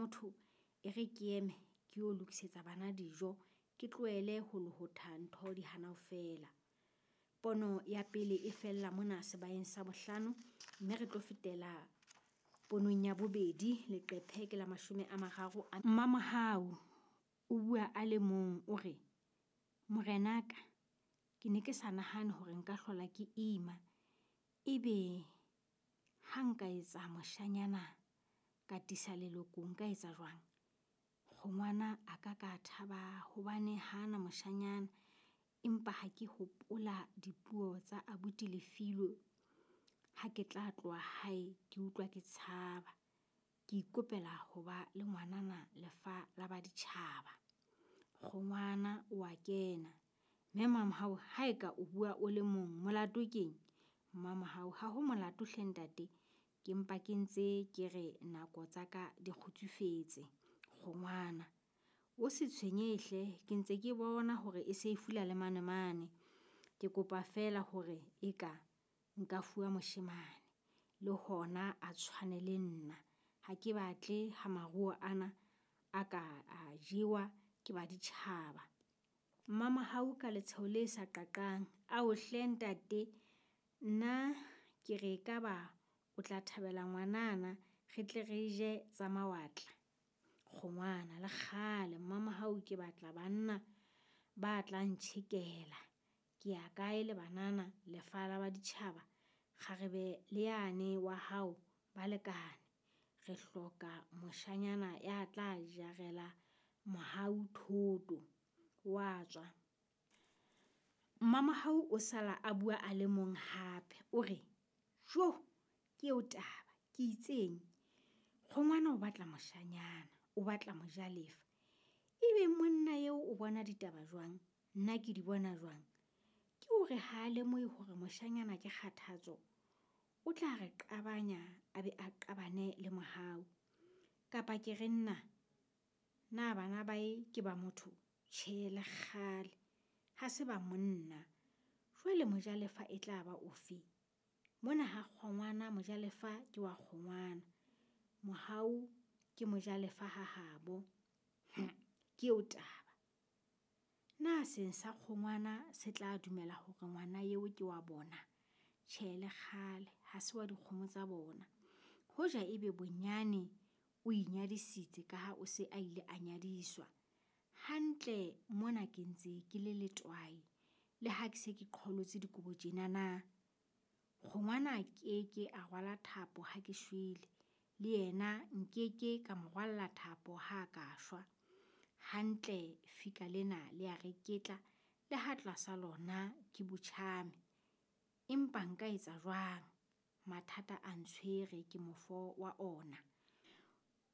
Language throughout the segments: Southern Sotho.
motho e re ke eme ke yo lokisetsa bana dijo, ke tlohele ho lohotha ntho di hana ho fela. Pono ya pele e fella mona sebaeng sa bohlano, mme re tlo fetela ponong ya bobedi, leqephe ke la 30 a. Mmamohau o bua a le mong o re, Morenaka, ke ne ke sa nahane hore nka hlola ke ima, ebe ha nka etsa moshanyana ka tisa leloko nka etsa jwang? Kgongwana a ka ka thaba hobane hana moshanyana, empa ha ke hopola dipuo tsa abuti Lefilwe ha ke tla tloha hae ke utlwa ke tshaba. Ke ikopela ho ba le ngwanana lefa la baditjhaba. Kgongwana o a kena. Mme Mamohau haeka o bua o le mong, molato keng? Mmamohau, ha ho molato hle ntate, ke mpa ke ntse ke re nako tsa ka di kgutsufetse. Kgongwana, o se tshwenyehe hle, ke ntse ke bona hore e se e fula le mane mane. Ke kopa feela hore eka nka fuwa moshemane, le hona a tshwane le nna. Ha ke batle ha maruo ana a ka a jewa ke baditjhaba. Mmamohau ka letsheho le sa qaqang, ao hle ntate, nna ke re ekaba o tla thabela ngwanana, re tle re je tsa mawatla. Kgongwana, le kgale Mmamohau ke batla banna ba tla ntjhekela. Ke ya kae le banana lefa la baditjhaba, kgarebe le yane wa hao ba lekane. Re hloka moshanyana ya tla jarela Mohau thoto. Wa tswa. Mmamohau o sala a bua a le mong hape, o re, Jo, ke eo taba, ke itseng? Kgongwana o batla moshanyana, o batla mojalefa. Ebe monna eo o bona ditaba jwang? Nna ke di bona jwang? Ke hore ha a lemohe hore moshanyana ke kgathatso, o tla re qabanya a be a qabane le Mohau. Kapa ke re nna, na bana bae ke ba motho? Tjhe, le kgale, ha se ba monna. Jwale mojalefa e tla ba ofe? Mona ha kgongwana mojalefa ke wa kgongwana. Mohau ke mojalefa ha habo. Ke eo taba. Na seng sa kgongwana se tla dumela hore ngwana eo ke wa bona? Tjhe, le kgale, ha se wa dikgomo tsa bona. Hoja ebe bonyane o inyadisitse ka ha o se a ile a nyadiswa. Hantle mona ke ntse ke le letwae, le ha ke se ke qholotse dikobo tjena na. Kgongwana ke a rwala thapo ha ke shwele, le yena nkeke ka mo rwalla thapo ha ka shwa. Hantle fika lena le a reketla, le ha tlasa lona ke botjhame. Empa nka etsa jwang? Mathata a ntshwere ke mofo wa ona.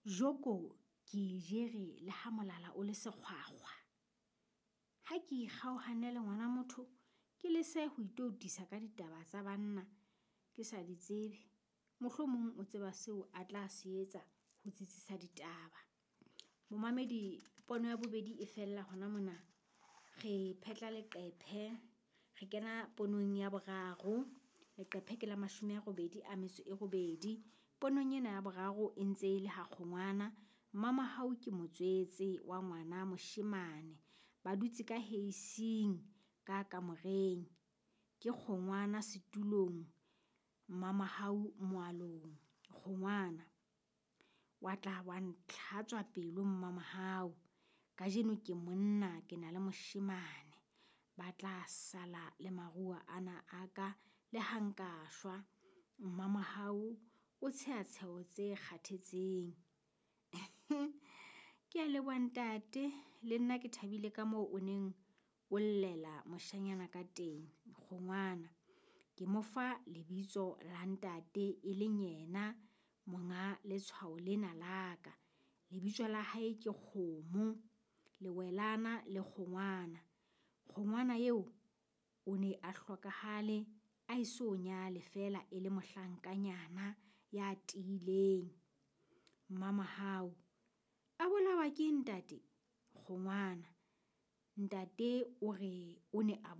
Joko ke e jere le ha molala o le sekgwakgwa. Ha ke ikgaohane le ngwana motho, ke lese ho itoutisa ka ditaba tsa banna ke sa di tsebe. Mohlomong o tseba seo a tla se etsa ho tsitsisa ditaba. Momamedi, pono ya bobedi e fella hona mona. Re phetla leqephe, re kena ponong ya boraro. Leqephe ke la 88. Ponong ena ya boraro e ntse e le ha kgongwana. Mmamohau ke motswetse wa ngwana moshemane. Ba dutse ka heising ka kamoreng. Ke kgongwana setulong, Mmamohau moalong. Kgongwana, wa tla wa ntlhatswa pelo Mmamohau. Kajeno ke monna, ke na le moshemane. Ba tla sala le maruo ana a ka le ha nka shwa. Mmamohau o tsheha tsheho tse kgathetseng. Ke a leboha ntate, le nna ke thabile ka moo o neng o llela moshanyana ka teng. Kgongwana, ke mo fa lebitso la ntate e leng yena monga letshwao lena la ka. Lebitso la hae ke Kgomo, Lewelana le Kgongwana. Kgongwana eo o ne a hlokahale a eso nyale feela e le mohlankanyana ya tiileng. Mmamohau, a bolawa ke ntate? Kgongwana, ntate o re o ne a